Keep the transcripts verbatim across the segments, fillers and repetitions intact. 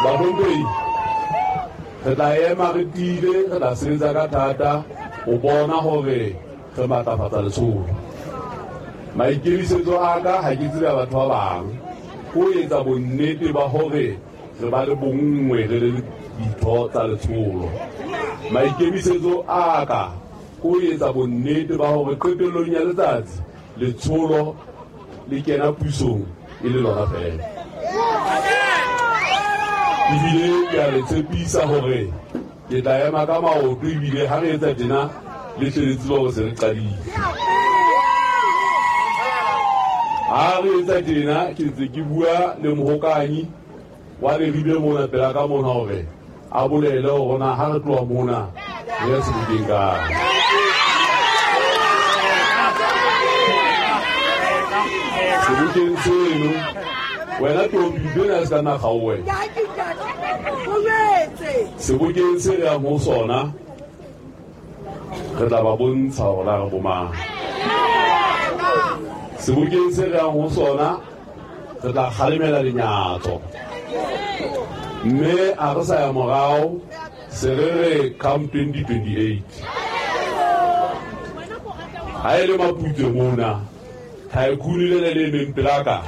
Bahlomphehi, re tla ema re tiile, re tla sebetsa ka thata ho bona hore re matlafatsa letsholo. Maikemisetso a ka ha ke tsebe batho ba bang, ho etsa bonnete ba hore re ba le bonngwe re le ditho tsa letsholo. Maikemisetso a ka ho etsa bonnete ba hore qetellong ya letsatsi letsholo le kena pusong e le lona fela. Ebile ke a le tshepisa hore ke tla ema ka maoto, ebile ha re etsa tjena le tle le tsebe hore se re qadile. Ha re etsa tjena ke ntse ke bua le mohokanyi wa Leribe mona pela ka mona hore a bolele hore na ha re tloha mona re ya sebokeng kae. Sebokeng seno wena Topi bena se ka nna kgaowe. Sebokeng se re yang ho sona re tla ba bontsha hore na re bo mang. Sebokeng se re yang ho sona re tla kgalemela lenyatso, mme ha re sa ya morao se re re come twenty twenty-eight. Ha e le Maputswe mona, tycoon le le emeng pelaka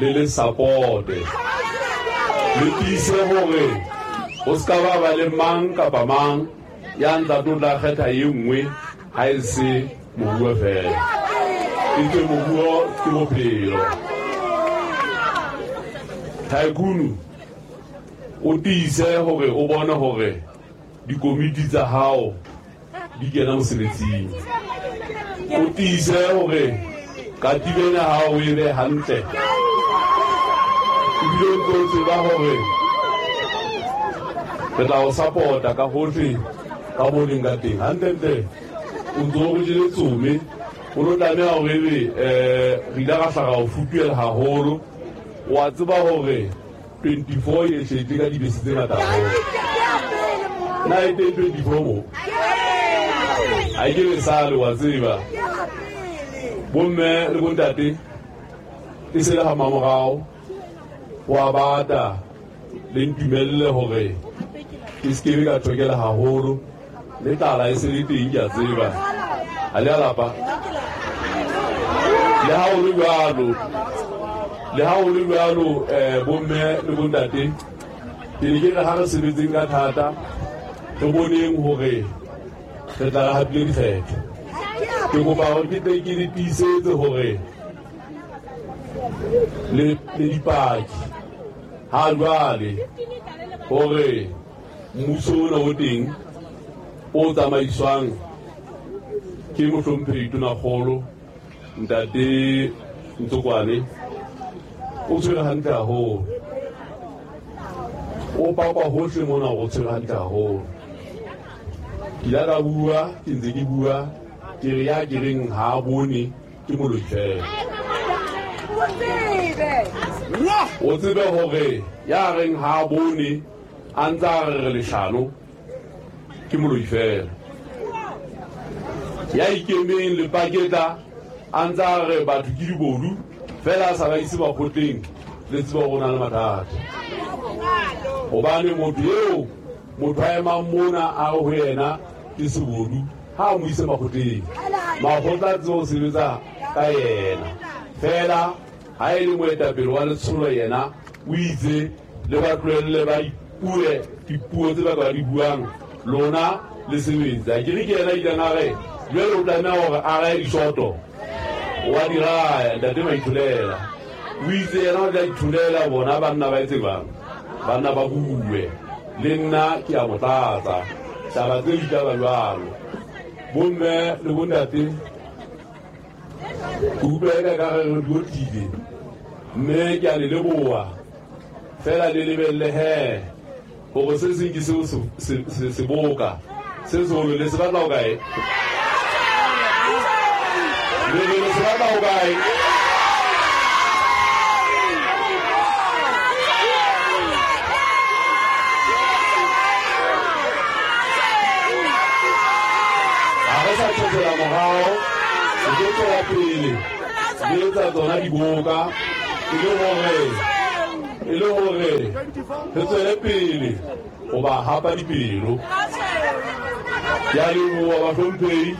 le le support-e, le tiise hore ho ska ba ba le mang kapa mang ya ntla tlo tla kgetha e nngwe ha e se moruo fela. Etswe moruo ke bophelo. Tycoon o tiise hore o bone hore dikomiti tsa hao di kena mosebetsing. O tiise hore katiba ena hao e be hantle. Ebile o ntso tseba hore re tla o support-a ka hohle ka mo leng ka teng. Hantlentle o ntso o jele tsume, o lo tlameha hore ebe um re ile ra hlaga ho futuhela haholo. Wa tseba hore twenty-four e hletse ka dibese tse ngata haholo. Na e teng twenty-four mo? Ha ke le sale wa tseba. Bomme le bontate e se le ha mamorao wa bata le ntumelle hore ke se ke ka thokela haholo, le tlala e se le teng ke a tseba. Ha le a lapa. Le ha ho le jwalo, le ha ho le jwalo eh bomme le bontate ke ne ke re ha re sebetseng ka thata re boneng hore re tla re hapile dikgetho. Ke kopa hore ke tle ke le tiisetse hore le le dipaki ha jwale hore mmuso ona o teng o tsamaiswang ke mohlomphehi Tonakgolo Ntate Ntsokoane o tshwere hantle haholo. O pakwa hohle mona hore o tshwere hantle haholo. Ke ile ka bua, ke ntse ke bua, ke re ya ke reng ha a bone ke moloi fela. O tsebe hore ya reng ha a bone a ntse a re re leshano ke moloi fela. Ya ikemeng le paketla a ntse a re batho ke dibodu fela a sa ba ise makgotleng, le tseba hore o na le mathata. Hobane motho eo motho a emang mona a re ho yena ke sebodu, ha a mo ise makgotleng, makgotla a tsebe ho sebetsa ka yena. Fela ha e le moetapele wa letsholo yena o itse le ba tlohelle ba ipue dipuo tse ba ka di buang, lona le sebetsa. Ke re ke yena ileng a re jwale o tlameha hore a raye dishoto, wa di raya ntate Maitholela. O itse yena o tla itholela bona banna ba etse jwang, banna ba bue. Le nna ke a mo tlatsa taba tse di taba jwalo. Bomme le bontate ke utlwa eka ka re re di mme ke a le leboha fela le lebelle he hore se seng ke seo seboka se seholo le se batla ho kae? Le le se batla ho kae? Ha re sa tjhekela morao, re tlo tswela pele re etsa tsona diboka e le hore E le hore re tswele pele ho ba hapa dipelo. Ke a leboha bahlomphehi,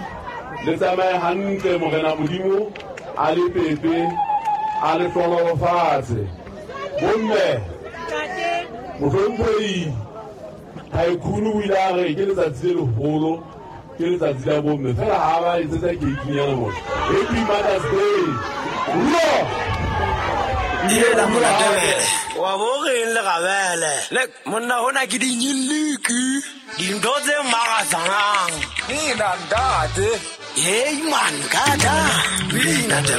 le tsamaye hantle Morena Modimo a le pepe a le hlohonolofatse. Bomme, mohlomphehi Tycoon o ile a re ke letsatsi le leholo, ke letsatsi la bomme, fela ha ba etsetsa keikinyana mona. Happy Mother's Day. Ruo! Ela molatebele wa bo reng le gabele le monna hona ke dinyiliki dintho tse makatsang. Nina ntate. Hey man, kada. Pina